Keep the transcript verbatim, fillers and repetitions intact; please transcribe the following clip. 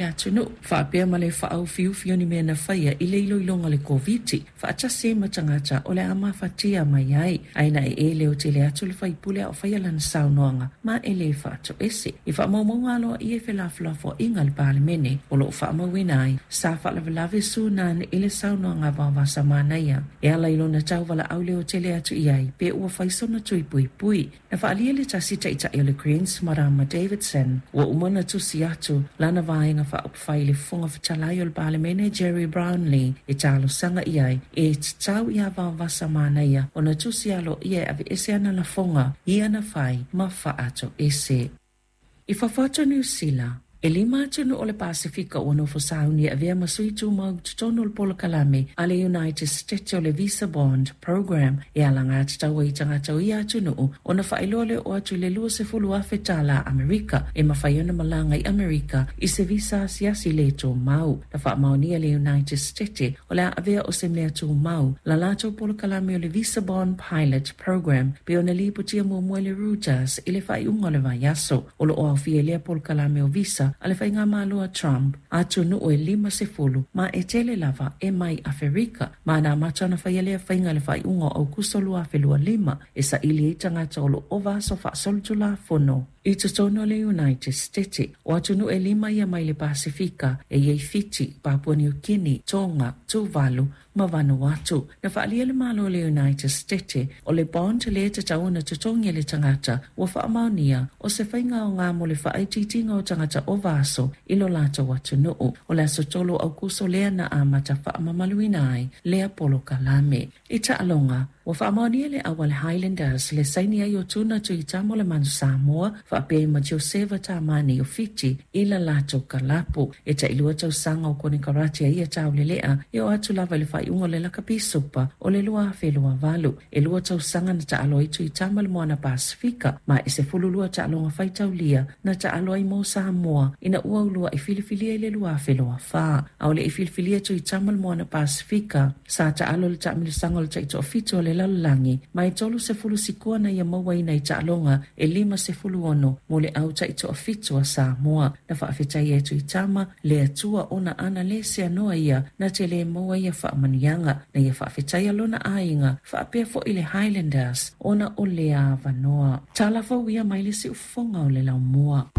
atunuu, faapea ma le faaofiufi o ni mea na faia i le iloiloga o le Koviti, faatasi ai ma tagata o le a mafatia mai ai, ae na e leo tele atu le faipule a o faia lana saunoaga ma e le faatoese. I faamaumauga aloaia i felafolafoaiga a le Palemene o loo faamauina ai, sa faalavelave Sunan i le saunoaga a Vaovasamanaia e ala i lona tauvalaau leo tele atu i ai pe ua fai sona tui puipui. Na faalia le tasi taitai o le Greens Marama Davidson ua uma ona tusi atu lana vaega faaupufai i le Fofoga Fetalai o le Palemene Gerry Brownlee e talosaga i ai e tatau iā Vaovasamanaia ona tusi aloaia e aveese ana lafoga ia na fai ma faatoese. I fafo atu o Niu Sila, e lima atunuu o le Pasefika ua nofo sauni e avea ma sui tumau i totonu o le polokalame a le United States o le Visa Bond Program e alagatatau ai i tagata o ia atunuu ona faailoa le oo atu i le luasefulu afe tālā Amerika e mafai ona malaga i Amerika i se visa asiasi le tumau. Na faamaonia le United States o le a avea o se mea tumau la latou polokalame o le Visa Bond Pilot Program pe ona lipotia muamua e le Reuters i le faaiuga o le vaiaso. O loo aofia i lea polokalame o visa a le faigamalo a Trump atunuu e limasefulu ma e tele lava e mai Aferika, ma na amata ona faia lea faiga i le faaiuga o Aukuso lua afe lua lima e saili ai tagata o loo ova aso faasolitulafono i totonu o le United States. O atunuu e lima ia mai le Pasefika e iai Fiti, Papua New Guinea, Tonga, Tuvalu ma Vanuatu. Na faalia le Malo o le United States o le bond le tatau ona totogi e le tagata ua faamaonia o se faiga aoga mo le faaitiitiga o tagata ova aso i lo latou atunuu. O le aso tolu o Aukuso lea na amata faamamaluina ai lea polokalame. I taaloga, ua faamaonia le au a le Highlanders le saini ai o Tuna Tuitama o le Manu Samoa faapea ai ma Joseva Tamani o Fiti i la latou kalapu. E tailua tausaga o konekarate a ia taulelea e oo atu lava i le faaiuga o le Lakapi Supa o le lua afe lua valu. E lua tausaga na taalo ai Tuitama le Moana Pasifika ma e sefululua taaloga faitaulia na taalo ai mo Samoa ina ua uluai filifilia i le lua afe lua fa. A o le i filifilia Tuitama le Moana Pasifika sa taalo le taamilosaga o le taitoafitu o le lalolagi ma e tolusefulu sikua na ia mauaina i taaloga e limasefulu ono mo le au taitoafitu a Samoa. Na faafetaia e Tuitama le Atua ona ana le seanoa ia na te le maua ia faamanuiaga na ia faafetaia lona aiga faapea foi le Highlanders ona o lea avanoa. Tala fou ia mai le siufofoga o le laumua.